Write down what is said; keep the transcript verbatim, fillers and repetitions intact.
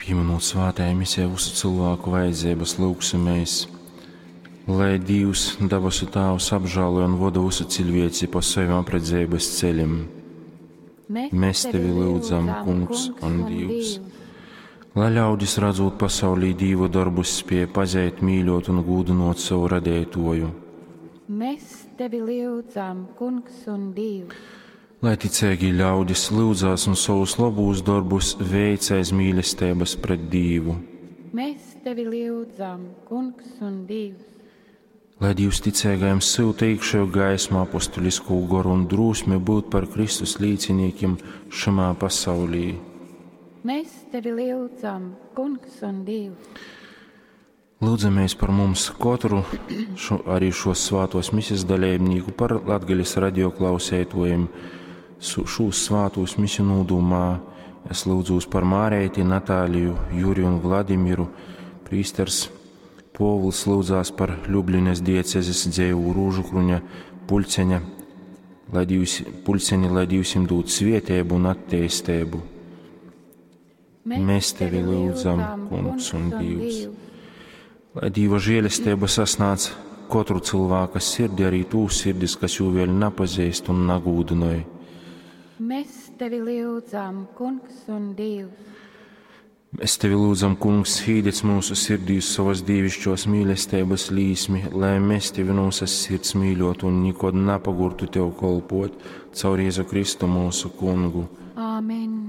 Pīminūt svātajā misē visu cilvēku vajadzības, lūgsimies, lai Dīvs, dabasu Tāvs, apžēloja un voda visu cilvēci pa saviem apredzeibas ceļiem. Mēs tevi lūdzam, Kungs un Dievs. Lai ļaudis, redzot pasaulī Dīva darbus, spēj pazīt, mīļot un gūdinot savu radētoju. Mēs tevi lūdzam, Kungs un Dievs. Lai ticīgi ļaudis lūdzās un savus labos darbus veic aiz mīlestības pret Dīvu. Mēs tevi lūdzam, Kungs un Dievs. Lai Dievs ticīgajiem syuta iekšējo gaismu, apostulisko goru un drosmi būt par Kristus līdziniekiem šajā pasaulī. Mēs tevi lūdzam, Kungs un Dievs. Lūdzamies par mums katru, šo, arī šos svātos misijas dalībnieku, par Latgales radioklausētojiem, šūs svātos misiju nūdumā. Es lūdzos par Mārēti, Natāliju, Juriju un Vladimiru. Prīsters Povuls lūdzās par Ļublines diecezes dzēvu Rūžukruņa puļceņa, lai Dievs, puļceņi, lai Dievs jim dod svietēbu un attīstību. Mēs tevi lūdzam, Kungs un Dievs. Lai Dieva žēlestība sasnāc katru cilvēka sirdi, arī tū sirdis, kas jū vēl nepazīst un nagūdinoja. Mēs tevi lūdzam, Kungs un Dievs. Mēs tevi lūdzam, Kungs, īdec mūsu sirdīs savas dievišķos mīlestības līsmi, lai mēs tevi no visas sirds mīļotu un nekad nepagurtu tev kolpot caur Jēzu Kristu mūsu Kungu. Āmen.